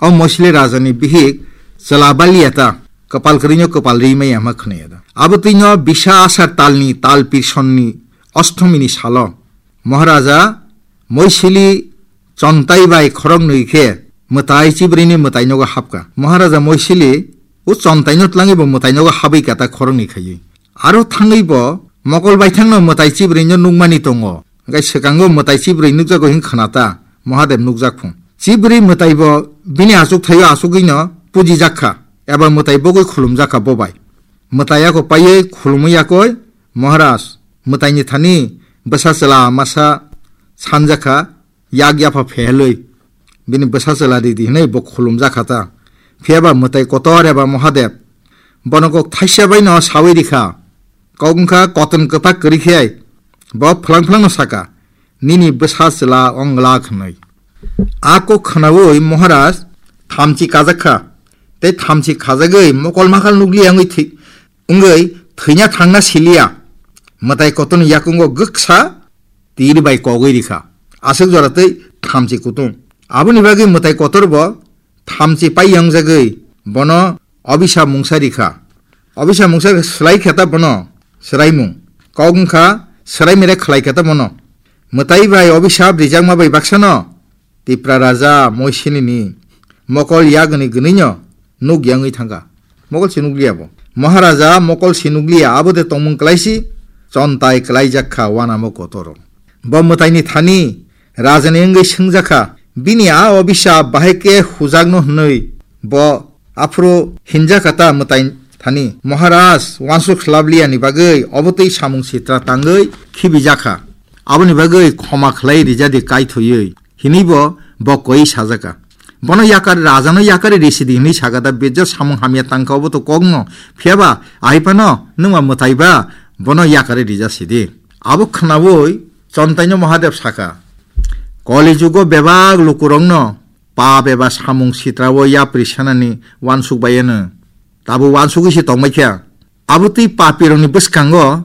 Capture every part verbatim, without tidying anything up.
O Moisili rajani bihik chwla baliya ta, kwpal kwrwino kwpal ri maya hwnma khwnaya da. Abo twino bisa asar talni tal pirsonni ostomini salo Maharaja Moisili Chontai bai khoroknwi khe mwtai chibrwini mwtai nogo hapkha. Maharaja Moisili o Chontaino tlangwi bo mwtai nogo habwi kata khoroknwi khaiwi. Aro thangwi bo mokol baithangno mwtai chibrwino nukmani tongo. Hwnkhe swkango mwtai chibrwi nukjago hwn khna ta Mahadev nukjak phung. Chibrwi mwtai bo bini achuk thaio achugwino pujijak kha eba mwtai bogwi khulumjak kha bo bai. Mwtai yakok paiwi khulumwi yakoi Maharaj mwtaini thani bwsa chwla masa sanjak kha, yak yapha phehelwi bini bwsa chwla ridi hwnwi bo khulumjak kha ta. Phiya ba mwtai kotor eba Mahadev bono kok thaisa baino sawi rikha. Kok wngkha koton kwpak kwrwi khe bo phlang phlangno saka, "Nini bwsa chwla ong glak," hwnwi. A kok khnaui Maharaj thamchi kajak kha, tei thamchi khajagwi mokol makal nukliya wngwi thwi-, wngwi thwina thangna siliya. Mwtai kotorni yakungo gwksa tir bai kogwi rikha. Aswk jora tei thamchi kutung. Aboni bagwi mwtai kotor bo thamchi pai yangjagwi bono obisa mungsa rikha. Obisa mungsa swlai khe ta bono swraimung. Kok wngkha swraimere khlai khe ta bono. Mwtai bai obisap rijakma bai baksano Tipra raja Moisilini mokol yagni gwnwino nuk yangwi thangkha. Mokol si nukliya bo. Maharaja mokol si nukliya, abo de tongmung kwlaisi, Chontai kwlaijak kha wanamo kotoro. Bo mwtaini thani rajani wngwi swngjak kha, bini a obisa bahai khe hujakno hwnwi bo aphuru hinjak kha ta mwtai thani. Maharaj wansuk khlabliyani bagwi obotwi samung sitra tangwi khibijak kha. Aboni bagwi khoma khlai rijadi kaithoi. Hinwi bo, bo koi sajaka. Bono yakar, rajano yakari risidi hinwi sagada, bejak samung hamya tangka obo to kokno. Phiyaba, ahaipano, nwngma mwtaiba, bono yakari rija sidi. Abo khnaui, Chontaino Mahadev saka. Koli jugo bebak lukurokno, pap eba samung sitrao yapri sanani wansuk bayano. Tabo wansugwi se tongbaikha. Abo twi papirokni bwskango,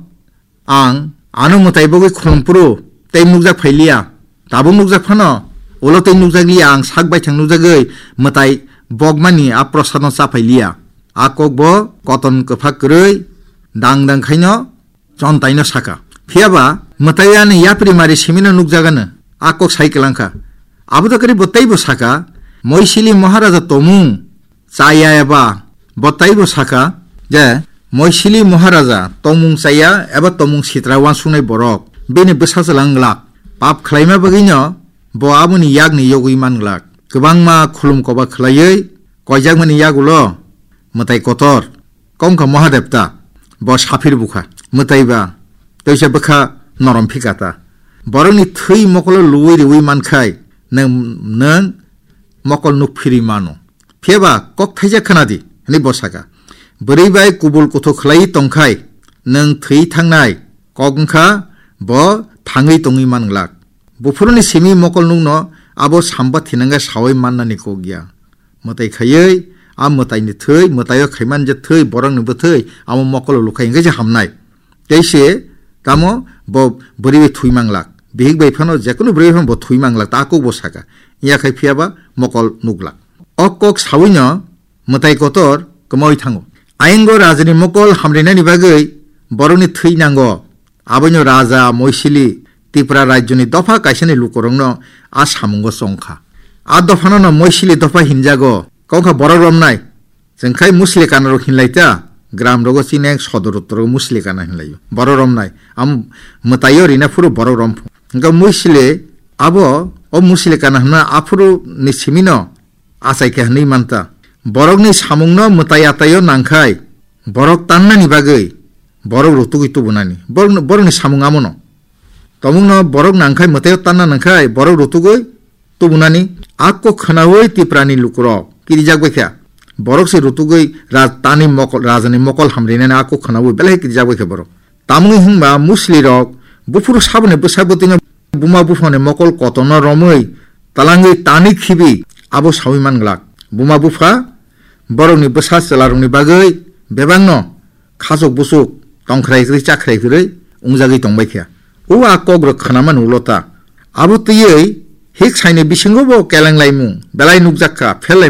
Ang ano mwtai bogwi khulumphuru tei nukjak phailiya. Tabuk nukjak phano, ulo tei nukjakliya, ang sak baithang nukjagwi mwtai bokmani a prosadno cha phailiya. A kokbo koton kwphak kwrwi dang dang khaino Chontaino saka. Phiyaba mwtai ani yapri mari simino nukjagano a kok sai kwlangkha. Abo da kwrwi bo teibo saka, Moisili Maharaja tomung chaya eba bo taibo saka je Moisili Maharaja tongmung chaya eba tongmung sitra wansuknai borok bini bwsa chwla wng glak. Pap khlaima bagwino bo aboni yakni yogwi man glak. Kwbangma khulum koba khlaiwi koijakmani yagulo mwtai kotor kongkha Mahadev ta bo saphir bukha. Mwtai ba toisa bwkha norom phika ta. Borokni thwi mokolo luwi riwi mankhai nwng, nwng mokol nuk phirwi mano. Phiyaba kok thaijak khna di, hwnwi bo saka. Bwrwi bai kubul kuthuk khlaiwi tongkhai, nwng thwi thangnai kok wngkha, bo thangwi tongwi man glak. Buphuruni simi mokol nukno abo samba thinangkhe saui mannani kok ya. Mwtai khaiwi, a mwtaini thwi, mwtaio khaiman je thwi, borokni bwthwi, amo mokolo lukhai hwnkhe se hamnai. Tei se tamo bo bwrwi bai thwi manglak. Bihik bai phano, jekunu bwrwi bai phano bo thwi manglak, ta kok bo saka. Iya khai phiyaba mokol nuklak. O kok sawino mwtai kotor kwmawi thango. Ayingo rajani mokol hamrinani bagwi borokni thwi nango. Aboino raja Moisili Tipra rajyoni dopha kaisani lukurokno a samungo chongkha. A dophanono Moisili dopha hinjago. Kok wngkha borok romnai. Chwng khai Muslikana rok hinlai ta, gram rogo chini ang sodor uttor rogo Muslikana hinlaio. Borok romnai. Am mwtaio rina phuru borok rom phu. Hwnkhe Musli abo o Muslikana hwnma aphuru ni simino achai khe hwnwi manta. Borokni samungno mwtai ataio nangkhai, borok tannani bagwi borok rutugwi tubunani. Borokni, borokni samung amono. Tomungno borok nangkhai, mwtaio tanna nangkhai, borok rutugwi tubunani. A kok khnaui Tiprani lukurok kirijak bai kha. Borok se rutugwi raj-, tani mokol, rajani mokol hamrinani a kok khnaui belai kirijak bai kha borok. Tamoni hwnba Musli rok buphuru saboni bwsa bwtwino buma buphani mokol kotorno romwi talangwi tani khibi abo saui man glak. Buma bupha borokni bwsa chwlarokni bagwi bebakno khachuk buchuk tongkhrai kwrwi chakrai kwrwi wngjagwi tongbai kha. O a kok rok khwnamani ulo ta. Abo twiwi hik saini bisingo bo kelenglai mung belai nukjak kha, phel